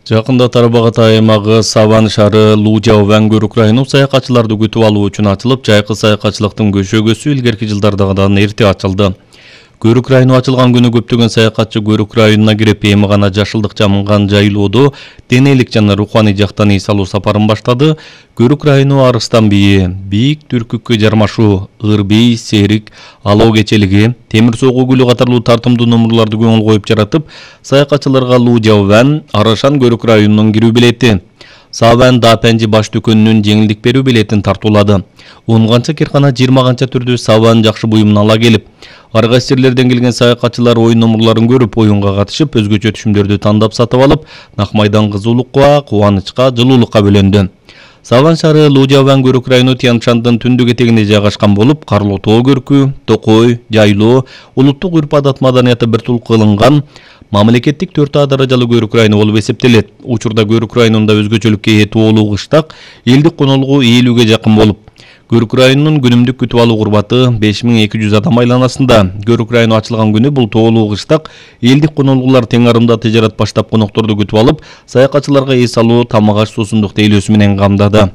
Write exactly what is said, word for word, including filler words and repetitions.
Жакында Тарбагатай аймагы Саван шаары Лужаван көрүк району саякатчыларды күтүп алуу үчүн ачылып, жайкы саякатчылыктын көшөгөсү илгерки жылдардагыдан эрте ачылды. Көрүк району ачылган күнү көптөгөн саякатчы Көрүк районуна кирип, эми гана жашылдык жамылган жайлоодо денелик жана руханий жактан эс алуу сапарын баштады. Көрүк району Арыстан бийи, Бийик Түркүккө жармашуу, Ырбей, Серик, Алоо кечелиги, Темир согуу гүлү катарлуу тартымдуу номурларды көңүл коюп жаратып, саякатчыларга Лужаван, Арашан Көрүк районунун кирүү билети, Саван Дапенжи баш дүкөнүнүн жеңилдик берүү билетин тартуулады. он канча киркана жыйырма канча түрдүү Саван жакшы буюмун ала келип, ар кайсы жерлерден келген саякатчылар оюн номурларын көрүп, оюнга катышып, өзгөчө түшүмдөрдү тандап сатып алып, нак майдан кызуулукка, кубанычка, жылуулукка бөлөндү. Саван шаары Лужаван Көрүк району Тянь-Шандын түндүк этегинде жайгашкан болуп, Карлуу тоо көркү, Токой, Жайлоо, улуттук үрп-адат маданияты бир тул кылынган мамлекеттик төрт А даражалуу көрүк району болуп эсептелет. Учурда Көрүк районунда өзгөчөлүккө ээ тоолуу кыштак, элдик конолугу элүүгө жакын болуп, Көрүк районунун күнүмдүк күтүп алуу курбаты беш миң эки жүз адам айланасында. Көрүк району ачылган күнү бул тоолуу кыштак, элдик конолугулар тең арымда тыжарат баштап конокторду күтүп алып, саякатчыларга эс алуу, тамак аш, суусундук тейлөөсү менен камдады.